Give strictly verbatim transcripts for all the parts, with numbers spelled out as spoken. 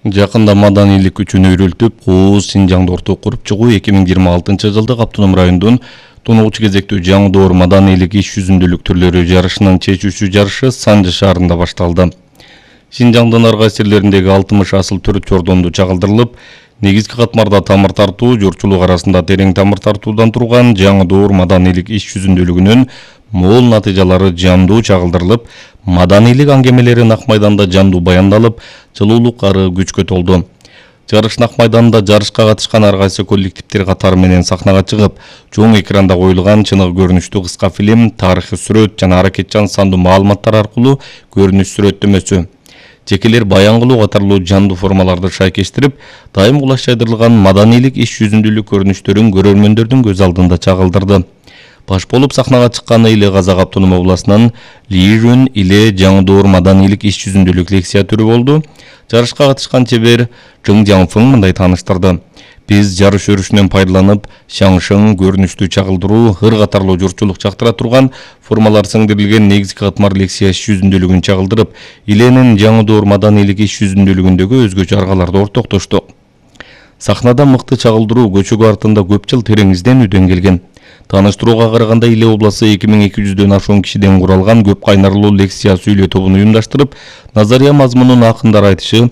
Жакында маданийлик үчүн үйрөлтүп, Кооз Синжаңды орто куруп чыгуу эки миң жыйырма алтынчы жылдык автоном райондун тунугучу кезектүү жаңдоор маданийлик иш жүзүндүүлүк түрлөрү жарышынын чечүүчү жарышы Санжы шаарында башталды. Синжаңдын ар кайсы жерлериндеги алтымыш асыл төр чордонду чагылдырылып, негизги катмарда тамыр тартуу, журтчулук арасында терең тамыр тартуудан турган жаңдоор маданийлик иш жүзүндүүлүгүнүн мол натыйжалары жандуу чагылдырылып, маданийлик аңгемелери Нак майданда жандуу баяндалып, жылуулук ары күчкө толду. Жарыш Нак майданында жарышка катышкан ар кайсы коллективдер катары менен сахнага чыгып, чоң экранда коюлган чыныгы көрүнүштүү кыска фильм, тарыхый сүрөт жана аракетчан сандуу маалыматтар аркылуу көрүнүш сүрөттөмөсү, жекелер баян кылуу катарлуу жандуу формаларды шайкештирип, дайым кулаш жайдырылган маданийлик иш жүзүндүүлүк көрүнүштөрүн көрөрмөндөрдүн көз алдында чагылдырды. Баш болуп сахнага чыкканы Иле Казак автоном областынан Лижүн Иле жаңдоор маданийлик иш жүзүндүүлүк лекция түрү болду. Жарышка катышкан чебер Жың Жаңфың мындай тааныштырды. Биз жарыш өрүшүнөн пайдаланып, шаңшың, көрүнүштүү чагылдыруу, ыр катарлуу журтчулук чактыра турган формалар сиңдирилген негизги катмар лекция иш жүзүндүүлүгүн чагылдырып, Иленин жаңдоор маданийлик иш жүзүндүүлүгүндөгү өзгөчө аргаларды ортоктоштук. Сахнада мыкты чагылдыруу көчөгү артында көп жыл терең изденүүдөн келген. Тааныштырууга караганда Иле областы эки миң эки жүздөн ашуун кишиден куралган көп кайнарлуу лекция сүйлөө тобун уюмдаштырып, назария мазмунун акындар айтышы,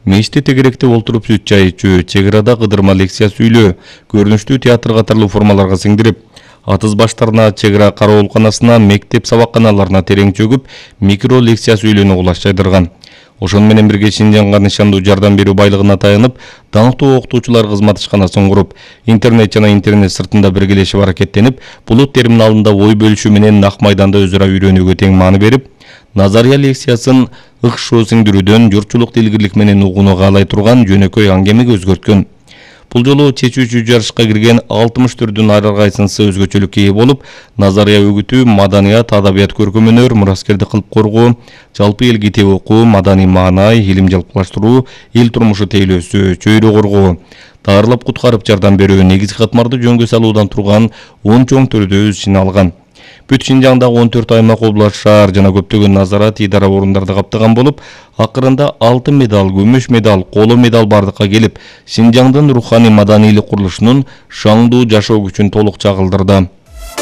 мешитте тегеректе олтуруп сүт чай ичүү, чек арада кыдырма лекция сүйлөө, көрүнүштүү театр катарлуу формаларга сиңдирип, атыз баштарына, чек ара кароолканасына, мектеп сабакканаларына терең чөгүп, микро лекция сүйлөөнү кулаш жайдырган. Ошону менен бирге Синжаңга нышандуу жардам берүү байлыгына таянып, даңктуу окутуучулар кызмат ишканасын куруп, интернет жана интернет сыртында биргелешип аракеттенип, булут терминалында ой бөлүшүү менен Нак майданда өз ара үйрөнүүгө тең маани берип, назария лекциясын ыкшоо сиңдирүүдөн журтчулук илгирлик менен угууну каалай турган жөнөкөй аңгемеге өзгөрткөн. Бул жолу чечүүчү жарышка кирген алтымыш түрдүн ар кайсынысы өзгөчөлүккө ээ болуп, назария өгүтүү, маданият, адабият, көркөмөнөр, мураскерди кылып коргоо, жалпы эл китеп окуу, маданий маанай, илим жалпылаштыруу, эл турмушу тейлөөсү, чөйрө коргоо, даарылап куткарып жардам берүү, негизги катмарды жөнгө салуудан турган он чоң төрдө өз ичине алган. Бүт Синжаңдагы он төрт аймак, област, шаар жана көптөгөн назарат идара орундарды каптаган болуп, акырында алтын медаль, күмүш медаль, коло медаль бардыкка келип, Синжаңдын руханий маданийлик курулушунун шаңдуу жашоо күчүн толук чагылдырды.